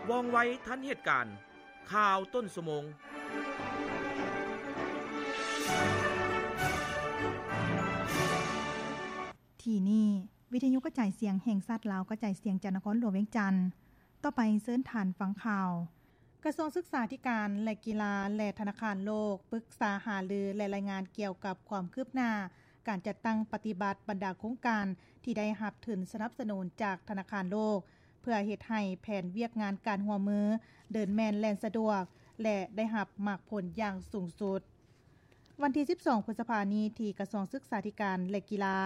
ວ່ອງໄວທັນເຫດການ. ຂ່າວຕົ້ນຊົ່ວໂມງ. ທີ່ນີ້ ວິທະຍຸກະຈາຍສຽງແຫ່ງຊາດລາວ ກະຈາຍສຽງຈາກນະຄອນຫຼວງວຽງຈັນ. ຕໍ່ໄປເຊີນທ່ານຟັງຂ່າວ. ກະຊວງສຶກສາທິການ ແລະ ກິລາ ແລະ ທະນາຄານໂລກ ປຶກສາຫາລື ແລະ ລາຍງານກ່ຽວກັບຄວາມຄືບໜ້າການຈັດຕັ້ງປະຕິບັດບັນດາໂຄງການທີ່ໄດ້ຮັບທຶນສະໜັບສະໜູນຈາກທະນາຄານໂລກ ເພື່ອເຮັດໃຫ້ແຜນວຽກງານການຮ່ວມມືເດີນແມ່ນແລ່ນສະດວກ ແລະ ໄດ້ຮັບໝາກຜົນຢ່າງສູງສຸດ. ວັນທີສິບສອງ ພຶດສະພານີ້ ທີ່ກະຊວງສຶກສາທິການ ແລະ ກິລາ,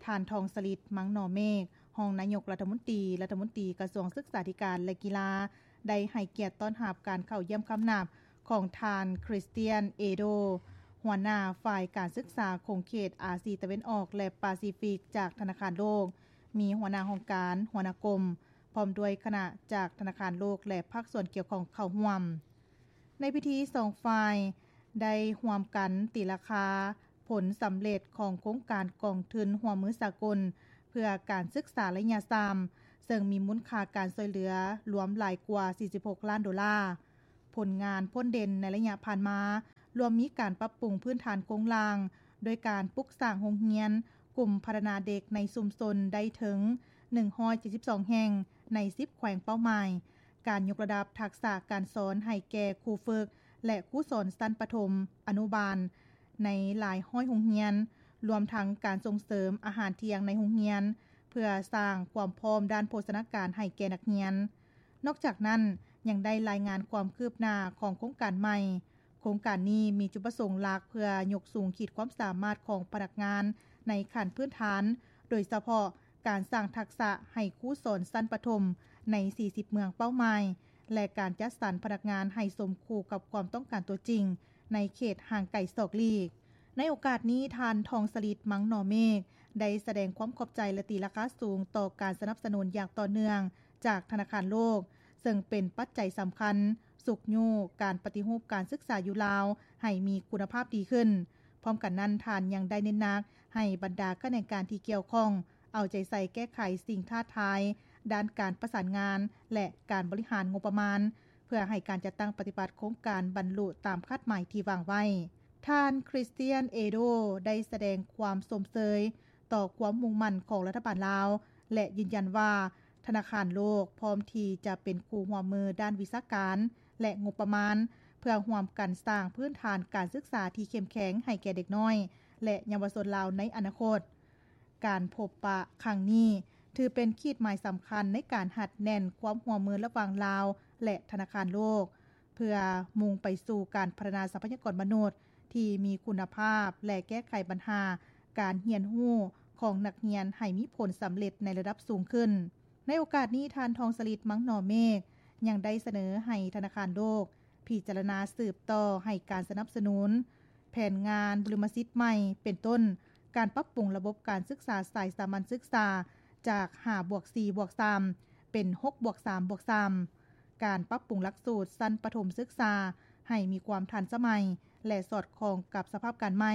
ທ່ານ ທອງສະລິດ ມັງໜໍເມກ ຮອງນາຍົກລັດຖະມົນຕີ, ລັດຖະມົນຕີກະຊວງສຶກສາທິການ ແລະ ກິລາ ໄດ້ໃຫ້ກຽດຕ້ອນຮັບການເຂົ້າຢ້ຽມຄຳນັບຂອງທ່ານ ຄຣິສຕຽນ ເອໂດ ຫົວໜ້າຝ່າຍການສຶກສາຂົງເຂດອາຊີຕາເວັນອອກ ແລະ ປາຊີຟິກ ຈາກທະນາຄານໂລກ, ມີຫົວໜ້າຫ້ອງການ, ຫົວໜ້າກົມ, ພ້ອມດ້ວຍຄະນະຈາກທະນາຄານໂລກ ແລະ ພາກສ່ວນກ່ຽວຂ້ອງເຂົ້າຮ່ວມ. ໃນພິທີ ສອງຝ່າຍໄດ້ຮ່ວມກັນຕີລາຄາຜົນສຳເລັດຂອງໂຄງການກອງທຶນຮ່ວມມືສາກົນເພື່ອການສຶກສາໄລຍະສາມ ເຊິ່ງມີມູນຄ່າການຊ່ວຍເຫຼືອລວມຫຼາຍກວ່າສີ່ສິບຫົກລ້ານໂດລາ. ຜົນງານພົ້ນເດັ່ນໃນໄລຍະຜ່ານມາ ລວມມີການປັບປຸງພື້ນຖານໂຄງລ່າງ ໂດຍການປຸກສ້າງໂຮງຮຽນກຸ່ມພັດທະນາເດັກໃນຊຸມຊົນໄດ້ເຖິງໜຶ່ງຮ້ອຍເຈັດສິບສອງແຫ່ງ ໃນສິບແຂວງເປົ້າໝາຍ, ການຍົກລະດັບທັກສະການສອນໃຫ້ແກ່ຄູຝຶກ ແລະ ຄູສອນຊັ້ນປະຖົມ, ອະນຸບານ ໃນຫຼາຍຮ້ອຍໂຮງຮຽນ, ລວມທັງການສົ່ງເສີມອາຫານທ່ຽງໃນໂຮງຮຽນ ເພື່ອສ້າງຄວາມພ້ອມດ້ານໂພຊະນາການໃຫ້ແກ່ນັກຮຽນ. ນອກຈາກນັ້ນ, ຍັງໄດ້ລາຍງານຄວາມຄືບໜ້າຂອງໂຄງການໃໝ່. ໂຄງການນີ້ມີຈຸດປະສົງຫຼັກເພື່ອຍົກສູງຂີດຄວາມສາມາດຂອງພະນັກງານໃນຂັ້ນພື້ນຖານ, ໂດຍສະເພາະການສ້າງທັກສະໃຫ້ຄູສອນຊັ້ນປະຖົມໃນສີ່ສິບເມືອງເປົ້າໝາຍ ແລະ ການຈັດສັນພະນັກງານໃຫ້ສົມຄູ່ກັບຄວາມຕ້ອງການຕົວຈິງໃນເຂດຫ່າງໄກສອກຫຼີກ. ໃນໂອກາດນີ້, ທ່ານ ທອງສະລິດ ມັງໜໍເມກ ໄດ້ສະແດງຄວາມຂອບໃຈ ແລະ ຕີລາຄາສູງຕໍ່ການສະໜັບສະໜູນຢ່າງຕໍ່ເນື່ອງຈາກທະນາຄານໂລກ, ເຊິ່ງເປັນປັດໄຈສຳຄັນຊຸກຍູ້ການປະຕິຮູບການສຶກສາຢູ່ລາວໃຫ້ມີຄຸນນະພາບດີຂຶ້ນ. ພ້ອມກັນນັ້ນ, ທ່ານຍັງໄດ້ເນັ້ນໜັກໃຫ້ບັນດາຂະແໜງການທີ່ກ່ຽວຂ້ອງ ເອົາໃຈໃສ່ແກ້ໄຂສິ່ງທ້າທາຍດ້ານການປະສານງານ ແລະ ການບໍລິຫານງົບປະມານ ເພື່ອໃຫ້ການຈັດຕັ້ງປະຕິບັດໂຄງການບັນລຸຕາມຄາດໝາຍທີ່ວາງໄວ້. ທ່ານ ຄຣິສຕຽນ ເອໂດ ໄດ້ສະແດງຄວາມຊົມເຊີຍຕໍ່ຄວາມມຸ່ງໝັ້ນຂອງລັດຖະບານລາວ ແລະ ຢືນຢັນວ່າ ທະນາຄານໂລກພ້ອມທີ່ຈະເປັນຄູ່ຮ່ວມມືດ້ານວິຊາການ ແລະ ງົບປະມານ ເພື່ອຮ່ວມກັນສ້າງພື້ນຖານການສຶກສາທີ່ເຂັ້ມແຂງໃຫ້ແກ່ເດັກນ້ອຍ ແລະ ເຍົາວະຊົນລາວໃນອະນາຄົດ. ການພົບປະຄັ້ງນີ້ ຖືເປັນຂີດໝາຍສຳຄັນໃນການຮັດແໜ້ນຄວາມຮ່ວມມືລະຫວ່າງລາວ ແລະ ທະນາຄານໂລກ ເພື່ອມຸ່ງໄປສູ່ການພັດທະນາຊັບພະຍາກອນມະນຸດທີ່ມີຄຸນນະພາບ ແລະ ແກ້ໄຂບັນຫາການຮຽນຮູ້ຂອງນັກຮຽນໃຫ້ມີຜົນສຳເລັດໃນລະດັບສູງຂຶ້ນ. ໃນໂອກາດນີ້, ທ່ານ ທອງສະລິດ ມັງໜໍເມກ ຍັງໄດ້ສະເໜີໃຫ້ທະນາຄານໂລກພິຈາລະນາສືບຕໍ່ໃຫ້ການສະໜັບສະໜູນແຜນງານບຸລິມະສິດໃໝ່ ເປັນຕົ້ນ ການປັບປຸງລະບົບການສຶກສາສາຍສາມັນສຶກສາຈາກຫ້າບວກສີ່ບວກສາມ ເປັນຫົກບວກສາມບວກສາມ, ການປັບປຸງຫຼັກສູດຊັ້ນປະຖົມສຶກສາໃຫ້ມີຄວາມທັນສະໄໝ ແລະ ສອດຄ່ອງກັບສະພາບການໃໝ່,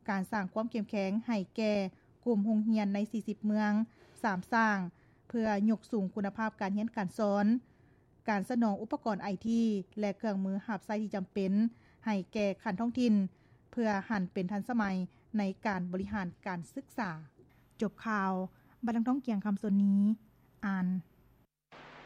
ການສ້າງຄວາມເຂັ້ມແຂງໃຫ້ແກ່ກຸ່ມໂຮງຮຽນໃນສີ່ສິບເມືອງສາມສ້າງ ເພື່ອຍົກສູງຄຸນນະພາບການຮຽນການສອນ, ການສະໜອງອຸປະກອນໄອທີ ແລະ ເຄື່ອງມືຮັບໃຊ້ທີ່ຈຳເປັນໃຫ້ແກ່ຂັ້ນທ້ອງຖິ່ນ ເພື່ອຫັນເປັນທັນສະໄໝໃນການບໍລິຫານການສຶກສາ. ຈົບຂ່າວ, ບັດນາງທອງກຽງ ຄຳສົນນີ ອ່ານ.